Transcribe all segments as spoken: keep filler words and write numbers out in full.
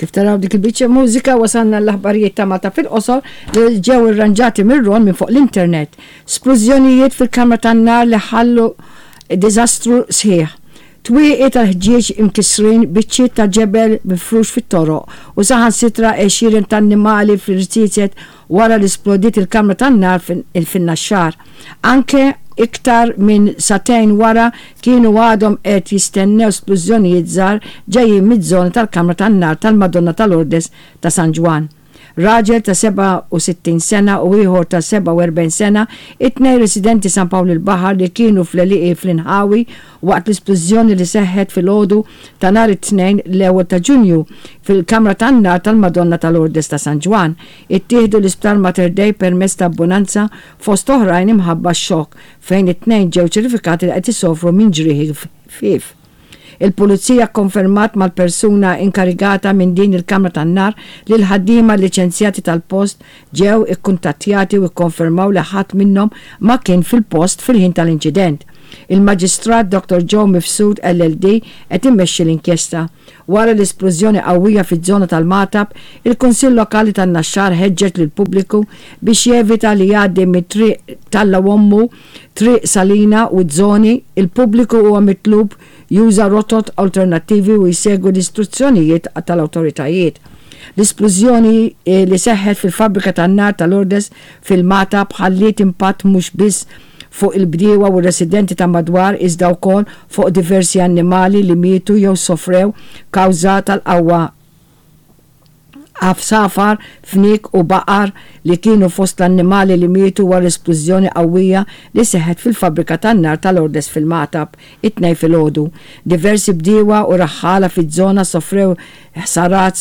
Kif taraw dik il-biċċa mużika, wasalna l-aħbarijiet ta' Malta fil-qosor li ġew irranġati mir-Ron minn fuq l-internet. Splużjonijiet fil-kamra tan-nar li ħallu diżastru sħiħ. Twieqi tal-ħġieġ imkisrin, biċċiet ta' ġebel mifrux fit-toroq u saħansitra għexieren ta' annimali fl-irziezet wara li splodiet il-kamra tan-nar fin-Naxxar. Anke iktar minn sagħtejn wara kienu għadhom qed jistennew splużjonijiet żgħar ġejjin miż-żona tal-kamra tan-nar tal-Madonna ta' Lourdes ta' San Ġwann. Raġel ta' sebgħa u sittin sena u ieħor ta' sebgħa u erbgħin sena, it-tnejn residenti San Pawl il-Baħar, li kienu fl-għelieqi fl-inħawi waqt l-isplużjoni li seħħet fil-għodu ta' nhar it-Tnejn, l-ewwel ta' Ġunju, fil-kamra tan-nar tal-Madonna ta' Lourdes ta' San Ġwann, ittieħdu l-Isptar Mater Dei permezz ta' ambulanza, fost oħrajn imħabba xokk, fejn it-tnejn ġew ċertifikati li qed isofru minn ġrieħi ħfief. Il-pulizija konfermat mal-persuna inkarigata minn din il-kamra tan-nar li l-ħaddiema liċenzjati tal-post ġew ikkuntattjati u ikkonfermaw li ħadd minnhom ma kien fil-post fil-ħin tal-inċident. Il-Maġistrat Doktor Joe Mifsud L L D qed immexxi l-inkjesta. Wara l-isplużjoni qawwija fiż-żona tal-Magħtab, il-Kunsill Lokali tan-Naxxar ħeġġeġ lill-pubbliku biex jevita li jgħaddi mit-triq Talla Wommu, Triq Salina u żoni. Il-pubbliku huwa mitlub juża rotot alternattivi u jsegwi l-istruzzjonijiet tal-awtoritajiet. L-isplużjoni eh, li seħħet fil-fabbrika tan-nar tal-Lourdes fil-Magħtab ħalliet impatt mhux biss fuq il-bdiewa u residenti ta' madwar, iżda wkoll fuq diversi annimali li mietu jew sofrew kawża tal-qawwa, għasafar, fniek u baqar li kienu fost l-annimali li mietu wara l-esplużjoni qawwija li seħħet fil-fabbrika tan-nar tal-Lourdes fil-Magħtab it-Tnejn filgħodu. Diversi bdiewa u raħħala fiż-żona sofrew ħsarat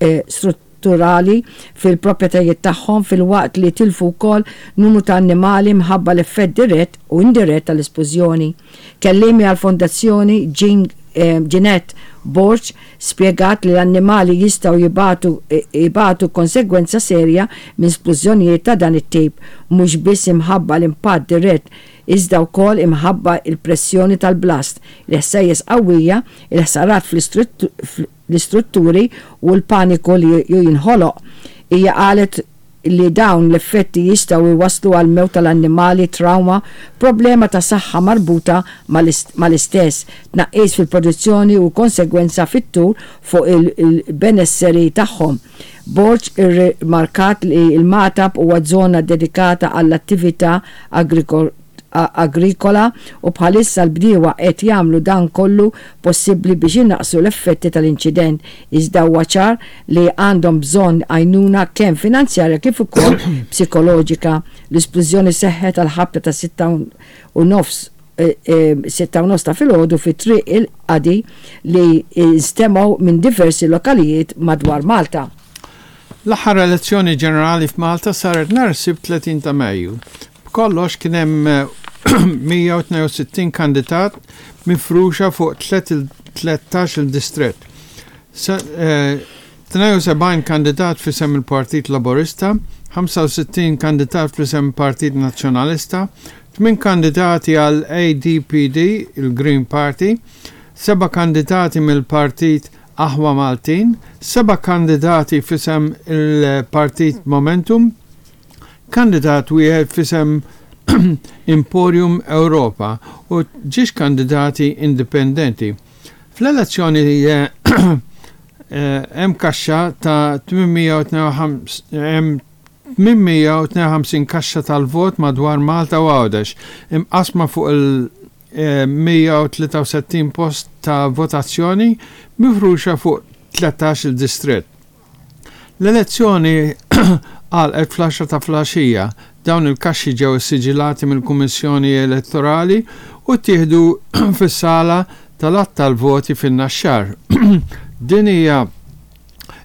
eh, strutturali fil-proprjetajiet tagħhom, filwaqt li tilfu wkoll numru ta' annimali mħabba l-effett dirett u indirett tal-esplużjoni. Kelliemi għal-fondazzjoni Jean eh, Jeanette Borg spiegat li l-annimali jistgħu jibatu, jibatu konsegwenza serja minn splużjonijiet ta' dan it-tip, mhux biss imħabba l-impatt dirett iżda wkoll imħabba il-pressjoni tal-blast, il-ħsejjes qawwija, il-ħsarat fl-istrutturi u l-paniku li jinħoloq. Hija qalet li dawn l-effetti jistgħu jwaslu għal mewt tal-annimali, trauma, problema ta' saħħa marbuta mal-istess, tnaqqis fil-produzzjoni u konsegwenza fit-tul fuq il-benesseri tagħhom. Borg irrimarkat li il-Magħtab huwa żona dedikata għall-attività agrikola u bħalissa l-bdiewa qed jagħmlu dan kollu possibbli biex inaqqsu l-effetti tal-inċident, iżda huwa ċar li għandhom bżonn għajnuna kemm finanzjarja kif ukoll psikoloġika. L-isplużjoni seħħet għal ħabta ta' sitta u nofs eh, eh, sitta u nofs ta' filgħodu fi Triq il-Qadi li instemgħu minn diversi lokalijiet madwar Malta. L-aħħar elezzjoni ġenerali f'Malta saret nhar Sibt tletin ta' Mejju. B'kollox kien hemm mija u tnejn u sittin kandidat mifruxa fuq tlettax il-distrett. tnejn u sebgħin kandidat f'isem il-Partit Laburista, ħamsa u sittin kandidat f'isem il-Partit Nazzjonalista, tmien kandidati għal A D P D, il-Green Party, seba' kandidati mill-Partit Aħwa Maltin, seba' kandidati f'isem il-Partit Momentum, kandidat wieħed f'isem Emporium Europa u żewġ kandidati indipendenti. Fl-elezzjoni eh, eh, hemm kaxxa ta' tmien mija u tnejn u ħamsin kaxxa tal-vot madwar Malta u Għawdex imqasma fuq il-mija u tlieta u sittin post ta' votazzjoni mifruxa fuq tlettax il-distrett. L-elezzjoni għalqet fl-għaxra ta' filgħaxija. Dawn il-kaxxi ġew siġilati mill-Kummissjoni Elettorali u ttieħdu fis-sala tal-għadd tal-voti fin-Naxxar. Din hija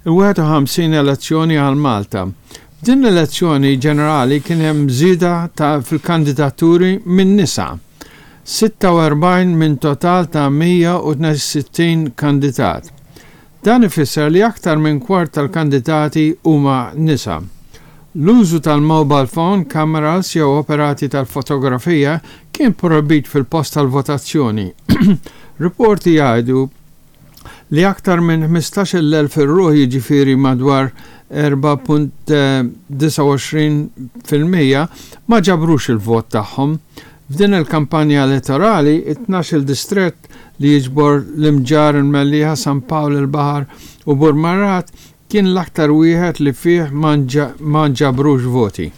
il-wieħed u ħamsin elezzjoni għal Malta. Din l-elezzjoni ġenerali kien hemm żieda ta' fil-kandidaturi minn nisa. sitta u erbgħin minn total ta' mija u tnejn u sittin kandidat. Dan ifisser li aktar minn kwart tal-kandidati huma nisa. L-użu tal-mobile phone, cameras jew operati tal-fotografija kien projbit fil-post tal-votazzjoni. Riporti jgħidu li aktar minn ħmistax-il elf ruħ, jiġifieri madwar erbgħa punt disgħa u għoxrin fil-mija, ma ġabrux il-vot tagħhom. F'din il-kampanja elettorali, it-tnax-il distrett li jiġbor l-Imġarr, il-Mellieħa, San Pawl il-Baħar u Burmarrad kien l-aktar wieħed li fih ma nġabrux voti.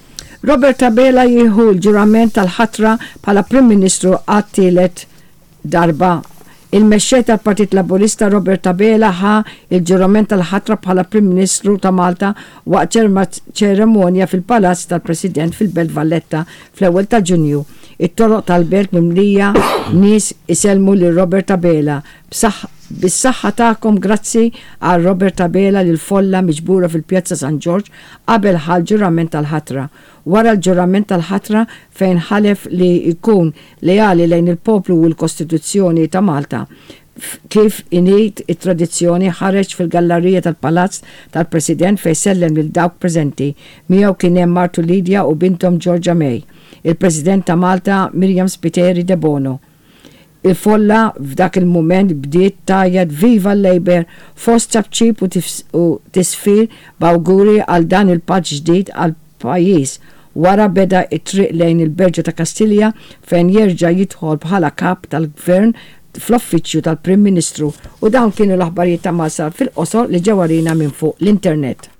Robert Abela jieħu l-ġurament tal-ħatra bħala Prim Ministru għat-tielet darba. Il-mexxej tal-Partit Laburista Robert Abela ħa il-ġurament tal-ħatra bħala Prim Ministru ta' Malta waqt ċeremonja fil-Palazz tal-President fil-Belt Valletta fl-ewwel ta' Ġunju. It-toroq tal-belt mimlija nies isellmu lil Robert Abela. "Bis-saħħa tagħkom, grazzi," qal Robert Abela lil folla miġbura fil-Pjazza San Ġorġ qabel ħa l-ġurament tal-ħatra. Wara l-ġurament tal-ħatra, fejn ħalef li jkun leali lejn il-poplu u l-Kostituzzjoni ta' Malta, kif inhi it-tradizzjoni, ħareġ fil-gallerija tal-Palazz tal-President fejn sellem lil dawk preżenti. Miegħu kien hemm martu Lydia u bintom Georgia May. Il-President ta' Malta Myriam Spiteri Debono. Il-folla f'dak il-moment bdiet tgħajjat "Viva l-Labour" fost ċapċip u tisfir b'awguri għal dan il-pass ġdid għal pajjiż. Wara beda it-triq lejn il-Berġa ta' Kastilja fejn jerġa' jidħol bħala kap tal-gvern fl-uffiċċju tal-Prim Ministru. U dawn kienu l-aħbarijiet ta' Malta fil-qosor li ġew għalina minn fuq l-internet.